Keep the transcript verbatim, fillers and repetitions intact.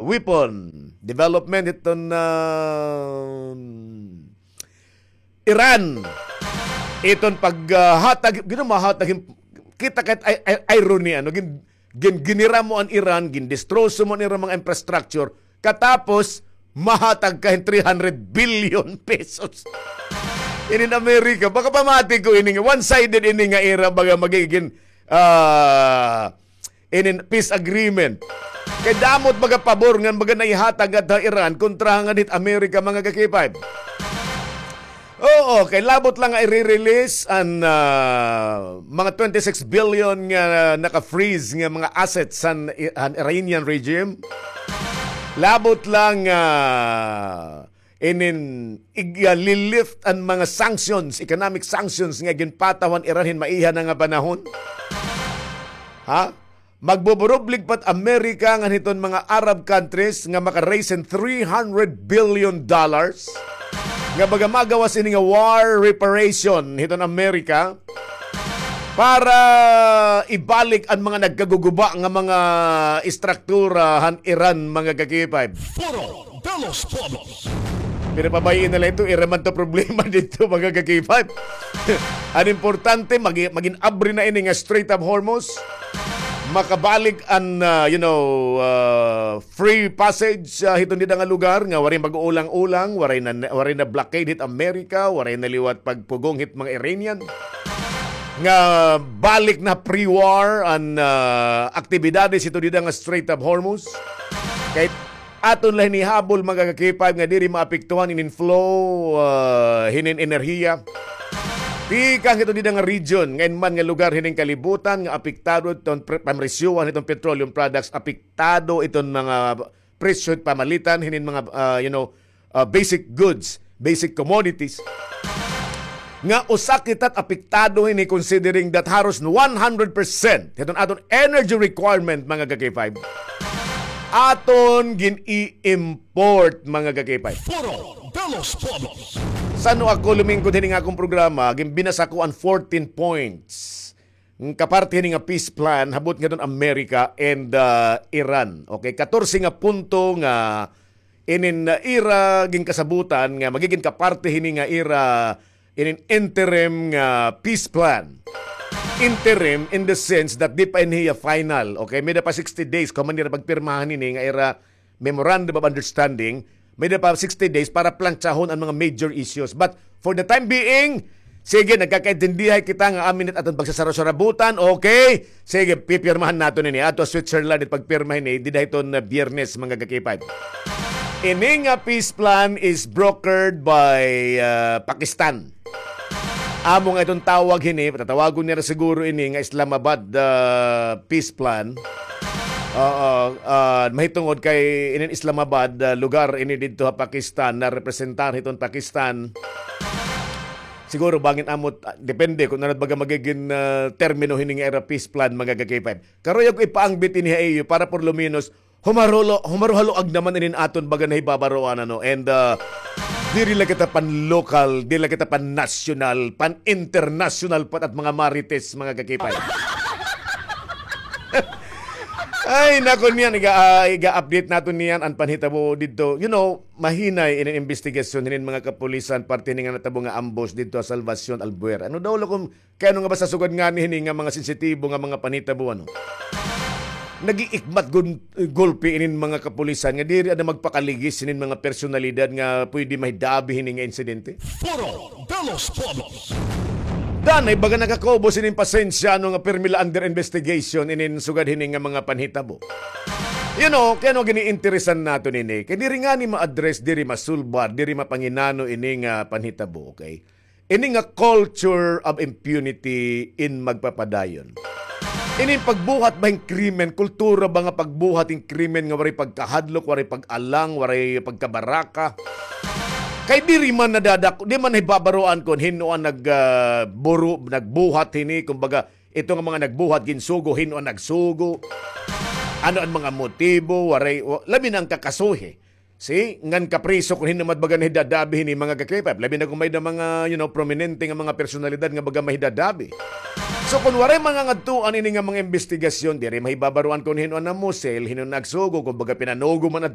weapon development hiton, ah, Iran. Iton paghatag, gin-, mahatag hin-, kita kay it i-, i-, irony, ano, gin-, gin-, ginira mo an Iran, gindestroso mo an ira mga infrastructure, katapos mahatag ka hin three hundred billion pesos. Inin Amerika, baka pamati ko ini nga one-sided ini nga ira, baga magigin, ah, inin peace agreement. Kay damo it baga pabor ngan baga naihatag ngadto ha Iran kontra ngan hit Amerika, mga ka-K five. Oo, kay labot la nga ire-release an, ah, mga twenty-six billion nga naka-freeze nga mga assets han, han Iranian regime. Labot la nga, ah, inin ig-, ah, li-lift an mga sanctions, economic sanctions nga ginpataw han Iran hin maiha na nga panahon. Ha? Magbuburublig pa it Amerika ngan hiton mga Arab countries nga maka-raise hin three hundred billion dollars nga baga magawas ini nga war reparation hiton Amerika para ibalik an mga nagkaguguba nga mga istruktura han Iran, mga ka-K five. Foro de los Pueblos. Pero pabay-i na la ito, ira man to problema didto, mga ka-K five. An importante, magi-, magin abri na ini nga Strait of Hormuz. Makabalik an, ah, you know, ah, free passage, ah, hiton dida nga lugar nga waray mag-uulang-ulang, waray na, waray na blockade hit Amerika, waray na liwat pagpugong hit mga Iranian. Nga balik na pre-war an, ah, aktibidades hiton dida nga Strait of Hormuz. Kay aton la hinihabol, mga ka-K five, nga diri maapektuhan inin flow, ah, hinin enerhiya. Tikang hiton dida nga region, ngan man nga lugar hinin kalibutan nga apektado iton pre-, pamresyohan hiton petroleum products, apektado iton mga presyo hit pamalitan hinin mga, ah, you know, ah, basic goods, basic commodities. Nga usa kita it apektado hini, considering that haros one hundred percent hiton aton energy requirement, mga ka-K five, aton gin-i-import, mga ka-K five. Foro de los Pueblos. San-o ako lumingkod hini nga akon programa, ginbinasa ko an fourteen points nga kaparte hini nga peace plan, habot ngadton America and, ah, Iran. Okay, katorse nga punto nga inin, ah, ira ginkasabutan nga magigin kaparte hini nga ira inin interim nga peace plan. Interim in the sense that di pa ini hiya final. Okay, may-ada pa sixty days kon man nira pagpirmahan ini nga ira memorandum of understanding, may-ada pa sixty days para plantsahon an mga major issues. But for the time being, sige, nagkakaintindihay kita nga amin it aton pagsasarasarabutan, okay? Sige, pipirmahan naton ini. Adto ha Switzerland it pagpirma hini, dida hiton, ah, Biyernes, mga ka-K five. Ini nga peace plan is brokered by, ah, Pakistan. Amo nga iton tawag hini, tatawagon nira siguro ini nga Islamabad, ah, peace plan. Oo, ah, mahitungod kay inin Islamabad, ah, lugar ini didto ha Pakistan, narepresentar hiton Pakistan. Siguro bangin amo, ah, depende kon ano it baga magigin, ah, termino hini nga ira peace plan, mga ka-K five. Karuyag ko ipaangbit ini ha iyo para por lo menos humarulo, humaruhaluag naman inin aton baga nahibabaroan, ano. And, ah, diri la kita pan-local, diri la kita pan-national, pan-international pa it mga marites, mga ka-K five. Ay, nako niyan, iga, ah, iga-update naton niyan an panhitabo didto. You know, mahinay inin imbestigasyon hinin mga kapulisan, parte hini nga natabo nga ambush didto ha Salvacion Albuera. Ano daw la kon Kay ano nga basta sugad ngani hini nga mga sensitibo nga mga panhitabo, ano? Nag-iikmat gun-, gulpi inin mga kapulisan nga diri ada magpakaligis hinin mga personalidad nga pwede mahidabi hini nga insidente. Foro de los Pueblos. Danay baga nakakubo sinin pasensya, ano, nga pirmi la under investigation inin sugad hini nga mga panhitabo. You know, kay ano gini-interesan naton ini? Kay diri ngani ma-address, diri masulbar, diri mapanginano ini nga panhitabo, okay? Ini nga culture of impunity in magpapadayon. Ini pagbuhat ba hin krimen, kultura ba nga pagbuhat hin krimen nga waray pagkahadlok, waray pag-alang, waray pagkabaraka. Kay diri man nadadako, di man hibabaroan kon hin-o an nag, ah, buro-, nagbuhat hini, kumbaga, ito nga mga nagbuhat, ginsugo, hin-o an nagsugo. Ano an mga motibo, waray, wa-, labi na an kakasuhi. Si, ngan kapriso kon hin-o man baga nahidadabi hini mga ka-K five. Labi na kon may-ada mga, you know, prominente nga mga personalidad nga baga mahidadabi. So, kon waray mga ngadtuan ini nga mga imbestigasyon, diri mahibabaroan kon hin-o an namusil, hin-o an nagsugo, kon baga pinanugo man an